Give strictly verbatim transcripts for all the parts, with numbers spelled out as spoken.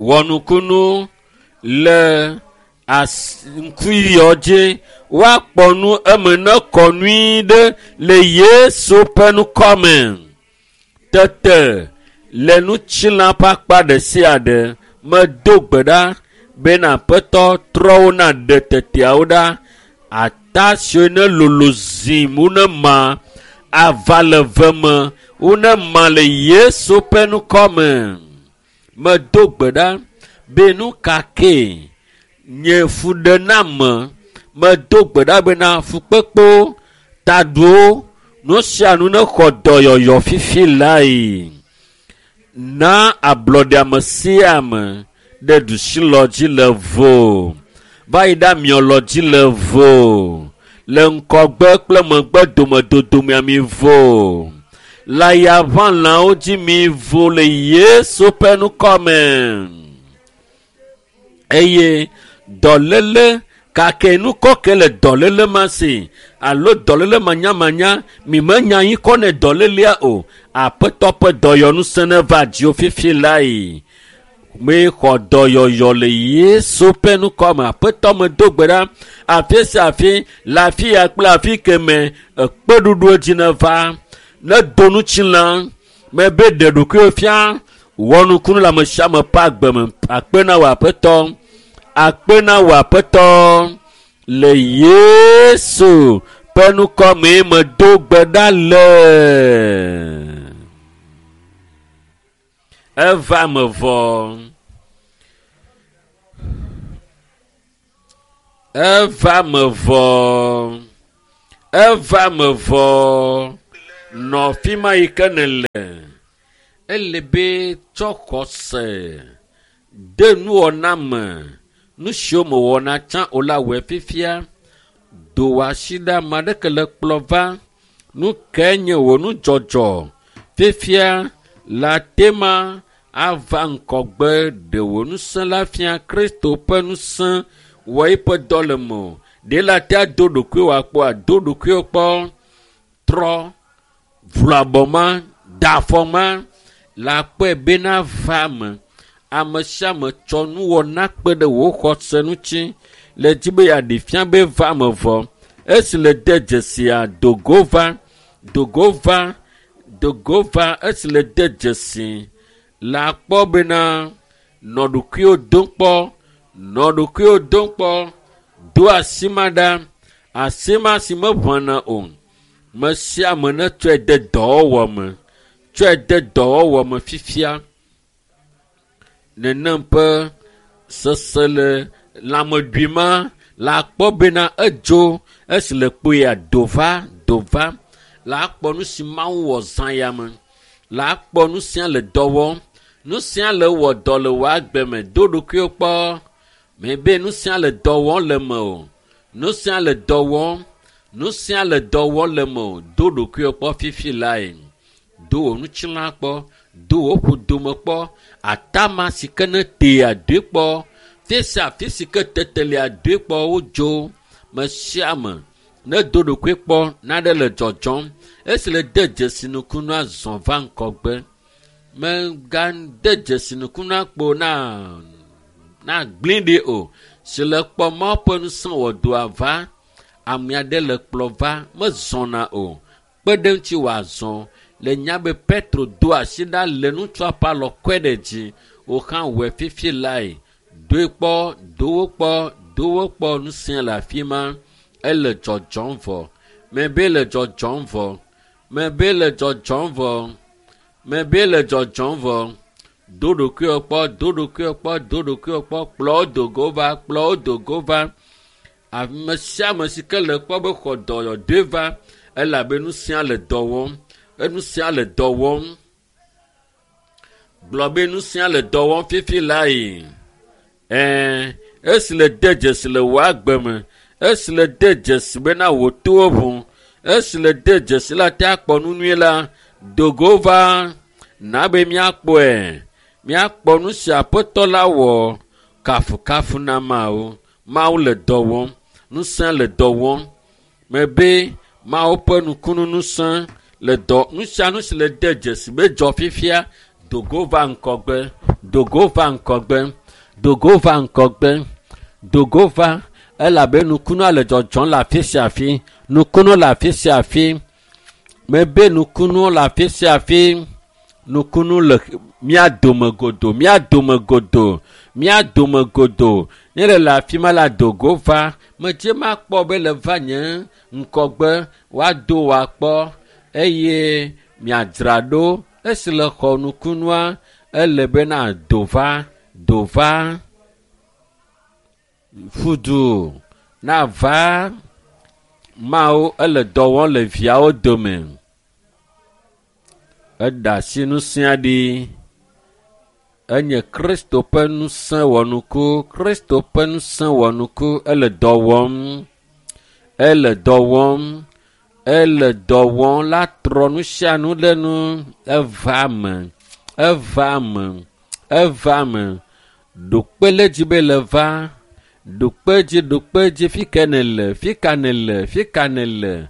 Wɔnukunu le as ŋkuyɔ dzi woakpɔ nu eme ne kɔ nyui ɖe le Yesu ƒe ŋkɔme. Tete le ŋutilã ƒe akpa ɖe sia ɖe medo gbe ɖa bena Aƒetɔ trɔ wo na ɖe teteawo ɖa. Ata siwo ne lolo zim wo ne ma ava le ve me wo ne ma le Yesu ƒe ŋkɔme. Medo gbe ɖa be nu ka kee nye fuɖename medo gbe ɖa bena fukpekpewo, taɖuwo, nu sia nu ne xɔ dɔyɔyɔ fifi lae. Na ablɔɖe ame sia ame ɖe ɖusilɔ dzi le vo va yi ɖe amiɔlɔ dzi le vo le ŋkɔgbe kple megbe domedodomea mi vo le ayaʋãlawo dzi mi vo le Yesu ƒe ŋkɔme eye dɔléle gake nukɔ ke le dɔléle ma si alo dɔléle manyamanya mi menya anyi kɔ ne dɔlélea o aƒetɔ ƒe dɔyɔnusẽ ne va dziwò fifi lae mexɔ dɔyɔyɔ le Yesu ƒe ŋkɔme aƒetɔ medo gbe ɖa afi sia afi le afi ya kple afi keme ekpeɖuɖu dzi ne va ne do ŋutilã mebe ɖe ɖokuiwò fia wɔ nukunu le ame sia ame ƒe agbe me akpe na wò aƒetɔ akpe na wò aƒetɔ le Yesu ƒe ŋkɔme medo gbe ɖa le. Eva me vɔ. Eva me vɔ. Eva me vɔ. Nɔ afi ma yi ke nèle. Ele be tsɔ xɔse de nuwɔna me. Nu siwo mewɔna tsã o la wɔe fifia. Do wò asi ɖe ame aɖeke le kplɔ va. Nu kae nye wò nudzɔdzɔ fifia le ate ma ava ŋgɔgbe ɖe wò ŋusẽ la fia Kristo ƒe ŋusẽ wɔ eƒe dɔ le mewò. Ɖe le ate ado ɖokuiwò akpɔ ado ɖokuiwò kpɔ trɔ vlu abɔ ma da afɔ ma le akpɔe bena va me. Ame sia ame tsɔ nuwɔna kpe ɖe wò xɔse ŋuti le dzi be yeaɖe fia be va me vɔ. Esi le de dzesia dogo va, dogo va, dogo va esi le de dzesi le akpɔ bena nɔ ɖokuiwò dom kpɔ, nɔ ɖokuiwò dom kpɔ, do asi ma ɖa, asi ma si meʋãna o. Me sia ame netsɔe de dɔwɔwɔ me, tsɔe de dɔwɔwɔ me fifia. Nenem ƒe sese le lãmeɖui ma le akpɔ bena edzo esi le kpoea do va do va le akpɔ nu si Mawu wɔ zã ya me le akpɔ nu sia le dɔ wɔm nu sia le wɔ dɔ le wò agbe me do ɖokuiwò kpɔ mebe nu sia le dɔ wɔm le me o nu sia le dɔ wɔm nu sia le dɔ wɔm le me o do ɖokuiwò kpɔ fifi lae do wò ŋutilã kpɔ do wò ƒodome kpɔ atama si ke ne tea doe kpɔ fi sia afi si ke tetelia doe kpɔ wodzo me sia ame ne do ɖokui kpɔ naɖe le dzɔdzɔm esi le de dzesi nukunua zɔ va ŋgɔgbe megade dzesi nukunua kpo na na gblẽ ɖi o si le kpɔ Mawu ƒe ŋusẽ wɔ dɔa va ame aɖe le kplɔ va mezɔna o kpe ɖe ŋuti wòazɔ le nya be Petro do asi ɖa le ŋutsua ƒe alɔ kɔe ɖe dzi wò hã wɔe fifi lae doe kpɔ do wo kpɔ do wo kpɔ ŋusẽ le afi ma ele dzɔdzɔm vɔ mebe le dzɔdzɔm vɔ mebe le dzɔdzɔm vɔ mebe le dzɔdzɔm vɔ do ɖokuiwò kpɔ do ɖokuiwò kpɔ do ɖokuiwò kpɔ kplɔ wo do go va kplɔ wo do go va ame sia ame si ke le kpɔ be xɔ dɔyɔdoe va elabe nu sia le dɔ wɔm enu sia le dɔ wɔm gblɔ be nu sia le dɔ wɔm fifi lae ɛɛ esi le de dzesi le wò agbe me esi le de dzesi bena wò towo ʋu esi le de dzesi la te akpɔ nu nyuie la dogo va na be míakpɔe míakpɔ nu si aƒetɔ la wɔ kafukafu na Mawu Mawu le dɔ wɔm ŋusẽ le dɔ wɔm mebe Mawu ƒe nukunu ŋusẽ le dɔ nu sia nu si le de dzesi be dzɔ fifia dogo va ŋgɔgbe Dogo va ŋgɔgbe. Dogo va ŋgɔgbe. Dogo va elabe nukunua le dzɔdzɔm le afi sia afi. Nukunu le afi sia afi. Mebe nukunu le afi sia afi. Nukunu le mía dome godo, mía dome godo, mía dome godo. Ne le le afi ma la dogo va. Medze makpɔ be le va nye ŋgɔgbe woado wòakpɔ eye miadzra ɖo. Esi le xɔ nukunua, ele bena do va, do va. Fudu nava Mawu ele dɔ wɔm le viawo dome. Eɖe asi ŋusẽ ɖi. Enye Kristo ƒe ŋusẽ wɔnuku. Kristo ƒe ŋusẽ wɔnuku. Ele dɔ wɔm. Ele dɔ wɔm. Ele dɔ wɔm la trɔ nu sia nu ɖe nu. Eva me. Eva me. Eva me. Ɖokpe le dzi be le va. Ɖokpe dzi, ɖokpe dzi. Fi ke nèle? Fi ka nèle? Fi ka nèle?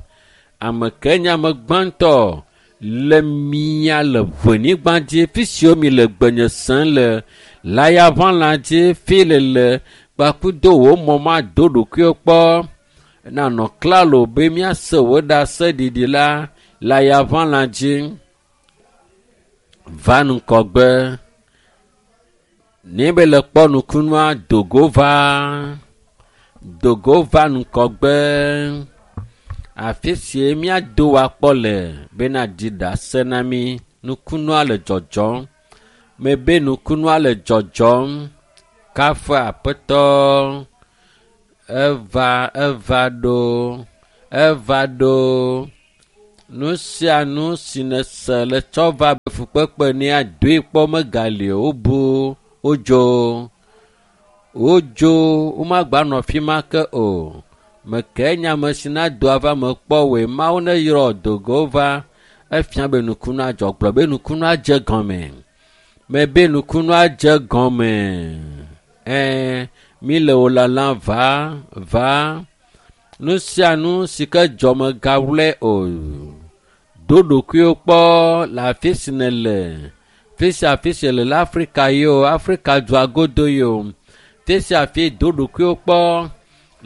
Ame ke nye ame gbãtɔ le mia le ʋenyigba dzi. Fi siwo mi le gbenye sem le layaʋãla dzi. Fi le le kpakudo wò mɔ ma do ɖokuiwo kpɔ. Nanɔ klalo be míase wò ɖaseɖiɖi la layaʋãla dzi. Va ŋgɔgbe. Ne be le kpɔ nukunua, dogo va. Dogo va ŋgɔgbe. Afi sie míado wòakpɔ le bena ɖi ɖase na mí. Nukunua le dzɔdzɔm. Mebe nukunua le dzɔdzɔm. Kafu Aƒetɔ. Eva, eva ɖo. Eva ɖo. Nu sia nu si nèse le tsɔ va be fukpekpe nea doe kpɔ megali o. Wobu, wodzo. Wodzo, womagbanɔ afi ma ke o. Meke nye ame si nado ava me kpɔ woe. Mawu neyrɔ dogo va. Efia be nukunua dzɔ. Gblɔ be nukunua dze gɔme. Mebe nukunua dze gɔme. Ɛɛ, mi le wò lalam va, va. Nu sia nu si ke dzɔ megawlɔe o. Do ɖokuiwò kpɔ le afi si nèle. Fi sia fi si le le Afrika ye o, Afrika dua godo ye o. Fi sia fi do ɖokuiwò kpɔ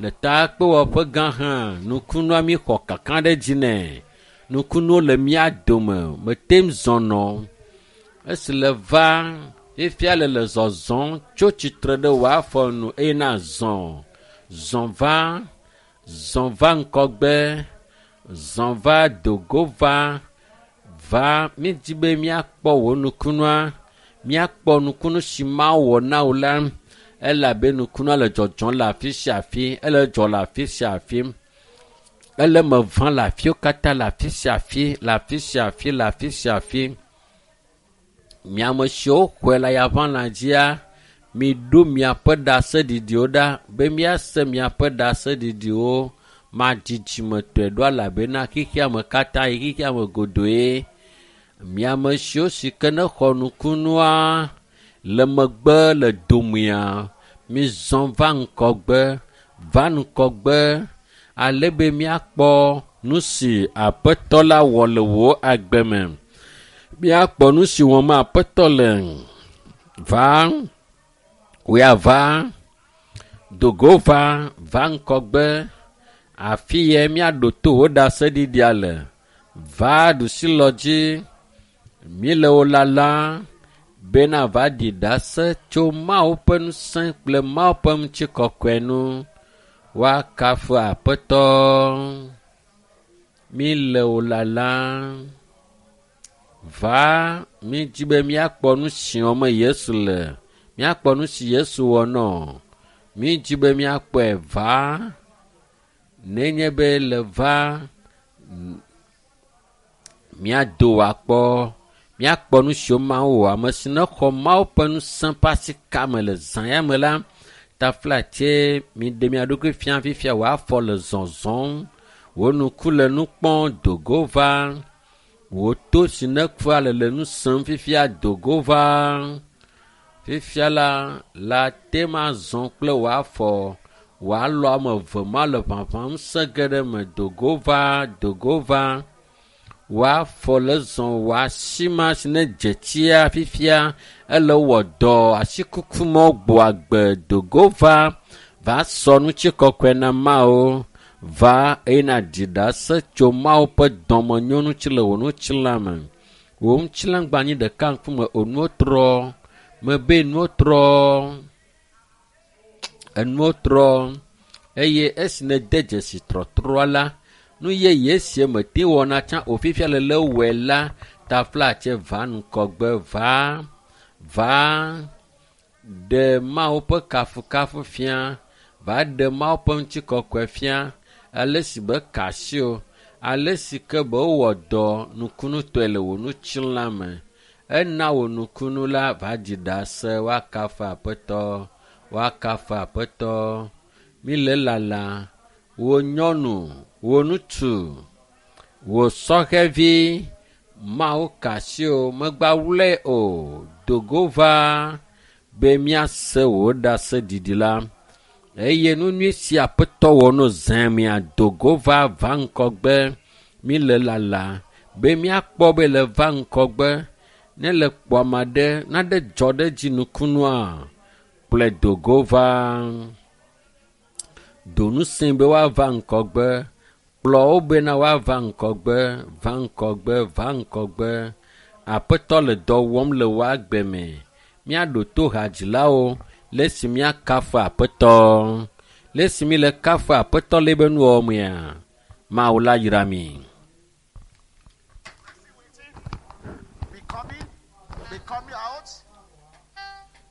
le takpewɔƒe gã hã. Nukunua mi xɔ kaka ɖe dzi nɛ. Nukunuwo le mía dome. Mete ŋu zɔnɔ. Esi le va fifia le le zɔzɔm tso tsitre ɖe wò afɔ nu eye nazɔ. Zɔ va. Zɔ va ŋgɔgbe. Zɔ va dogo va. Va mídi be míakpɔ wò nukunua. Míakpɔ nukunu si Mawu wɔ na wò la. Elabe nukunua le dzɔdzɔm le afi sia afi. Ele dzɔ le afi sia afi. Ele me vam le afiwo katã le afi sia afi, le afi sia afi, le afi sia afi. Mi ame siwo xɔe le ayaʋãla dzia, miɖo miaƒe ɖaseɖiɖiwo ɖa be míase miaƒe ɖaseɖiɖiwo. Madzidzimetɔe ɖo elabena xexea me katã yi xexea me godoe. Mi ame siwo si ke ne xɔ nukunua le megbe le domea, mizɔ va ŋgɔgbe, va ŋgɔgbe ale be míakpɔ nu si Aƒetɔ la wɔ le wò agbe me. Míakpɔ nu si wɔm Aƒetɔ le. Va, wòya va, dogo va, va ŋgɔgbe. Afi ye míaɖo to wò ɖaseɖiɖia le. Va ɖusilɔ dzi. Mi le wò lalam bena va ɖi ɖase tso Mawu ƒe ŋusẽ kple Mawu ƒe ŋutikɔkɔe nu. Woakafu Aƒetɔ. Mi le wò lalam. Va, mídi be míakpɔ nu si wɔm Yesu le. Míakpɔ nu si Yesu wɔ nɔ. Mídi be míakpɔe va. Nenye be le va, míado wòakpɔ. Míakpɔ nu siwo Mawu wɔ. Ame si ne xɔ Mawu ƒe ŋusẽ ƒe asika me le zã ya me la, taflatse miɖe mia ɖokui fia fifia wò afɔ le zɔzɔm. Wò ŋku le nu kpɔm dogo va. Wò to si ne kua le le nu sem fifia dogo va. Fifia la, la te ma zɔ kple wò afɔ. Wò alɔ ame eve ma le ʋaʋãm sẽ ge ɖe me dogo va, dogo va. Wòafɔ le zɔ wò asi ma si ne dze tsia fifia ele wɔ dɔ asikuku mɔ gbɔ agbe dogo va va sɔ nutsikɔkɔe na Mawu va eye nàɖi ɖase tso Mawu ƒe dɔmenyonu ŋuti le wò ŋutilã me. Wò ŋutilã gba anyi ɖeka ŋkume o nuwo trɔ mebe nuwo trɔ enuwo trɔ eye esi nède dzesi trɔtrɔa la nu yeye si mete wɔna tsã o fifia le le wɔe la taflatse va ŋgɔgbe va va ɖe Mawu ƒe kafukafu fia va ɖe Mawu ƒe ŋutikɔkɔe fia ale si be ka asi o ale si ke be wowɔ dɔ nukunutɔe le wò ŋutilã me ena wò nukunu la va dzi ɖase woakafu Aƒetɔ woakafu Aƒetɔ mi le lala wò nyɔnu wò ŋutsu wò sɔhɛvi Mawu ka asi o megba wlɔe o dogo va be míase wò ɖaseɖiɖi la eye nu nyui si Aƒetɔ wɔ no zã mia dogo va va ŋgɔgbe mi le lala be míakpɔ be le va ŋgɔgbe ne le kpɔ ame aɖe naɖe dzɔ ɖe dzi nukunua kplɔe dogo va do ŋusẽ be woava ŋgɔgbe kplɔ wo bena woava ŋgɔgbe va ŋgɔgbe va ŋgɔgbe Aƒetɔ le dɔ wɔm le wò agbe me míaɖo to hadzilawo le esi míakafu Aƒetɔ le esi mi le kafu Aƒetɔ le ebe nuwɔwɔ mea Mawu la yra mi.